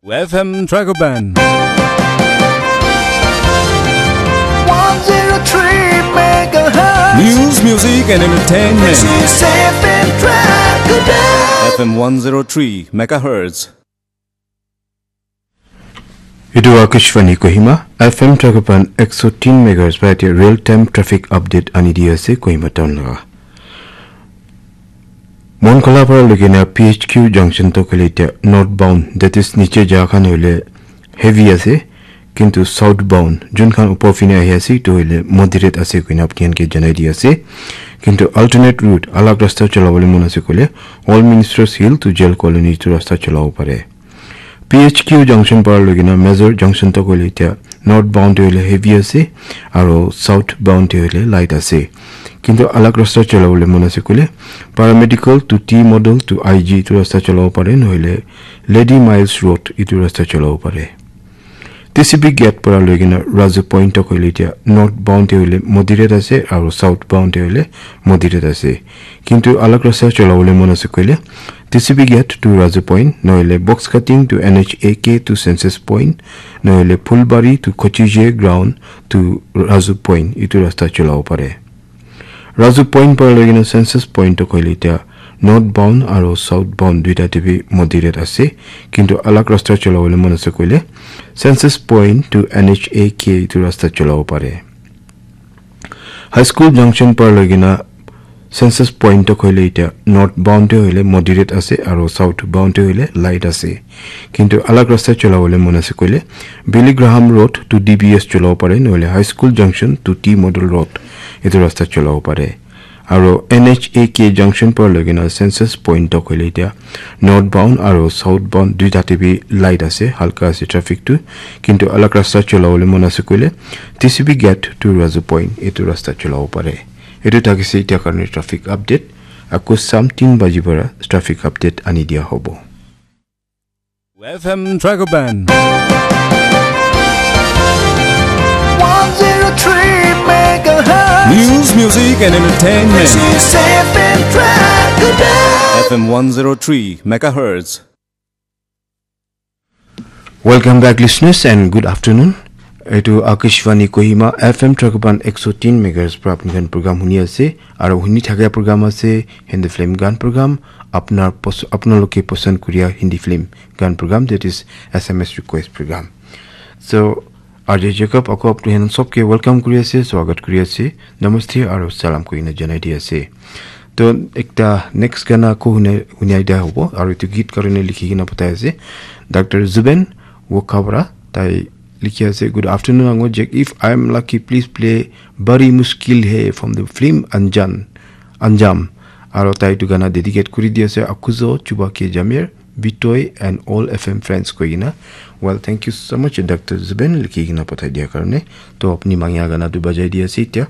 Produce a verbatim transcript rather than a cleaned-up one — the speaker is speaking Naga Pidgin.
F M Dragoban. One zero three megahertz. News, music, and entertainment. This is F M Dragoban. F M one zero three megahertz. Etu Akashvani Kohima, F M Dragoban ekso tin megahertz para etia real time traffic update ani di ase Kohima town laga. Monkhola para loikena P H Q junction to kole etia northbound, that is niche ja khan hoile heavy ase, kintu southbound jun khan upor fine ahi ase etu hoile moderate ase koina apni khan ke janai di ase. Kintu alternate route alag rasta cholabole mon ase koile All Ministers Hill to Jail Colony etu rasta cholabo pare. P H Q junction para loikena Major junction to kole etia northbound te hoile heavy ase aro southbound te hoile light ase. Kintu alag rasta cholabole mon ase koile paramedical to T model to I G etu rasta cholabo pare, nohoile Lady Miles Road etu rasta cholabo pare. T C B gate para loikena Raju Point to kole etia northbound te hoile moderate ase aro southbound te hoile moderate ase. Kintu alag rasta cholabole mon ase koile T C B gate to Raju Point, nohoile box cutting to N H A K to Census Point, nohoile Phulbari to Kochije ground to Raju Point etu rasta cholabo pare. Raju Point para loikena Census Point to kole etia northbound aro southbound duita te bi moderate ase, kintu alag rasta cholabole mon ase koile Census Point to N H A K etu rasta cholabo pare. High School junction para loikena Census Point to kole etia northbound te hoile moderate ase aro southbound te hoile light ase. Kintu alag rasta cholabole mon ase koile Billy Graham Road to D B S cholabo pare, nohoile High School junction to T Model Road etu rasta cholabo pare. Aro N H A K junction para loikena Census Point to kole etia northbound aro southbound duita te bi light ase, halka ase traffic tu. Kintu alag rasta cholabole mon ase koile T C B gate to Raju Point etu rasta cholabo pare. Etu thakise etia karne traffic update. Ako something baji para traffic update ani dia hobo. F M Dragoban. One zero three megahertz. News, music, and entertainment. This is F M Dragoban. F M one zero three megahertz. Welcome back, listeners, and good afternoon. Etu Akashvani Kohima F M Dragoban ekso tin megahertz para apni khan program huni ase. Aro huni thakia program ase Hindi film gan program, apnar pos-, apnaloke pasand kuria Hindi film gan program, that is S M S request program. So, R J Jacob, ako apni khan sobke welcome kuri ase, swagat kuri ase, namaste aro salam koina janai di ase. To ekta next gana ko hune, hunai dia hobo, aro etu git karone likhi kena pathai ase Doctor Zuben Wokhabra, tai likhi ase, "Good afternoon, Ango Jack. If I am lucky, please play Bari Mushkil Hai from the film Anjan, Anjam." Aro tai etu gana dedicate kuri di ase, Akuzo, Chuba K Jamir, Bitoi and all F M friends koi kena. Well, thank you so much, Doctor Zuben, likhi kena pathai dia karone. To apni mangya gana tu bajai di ase etia.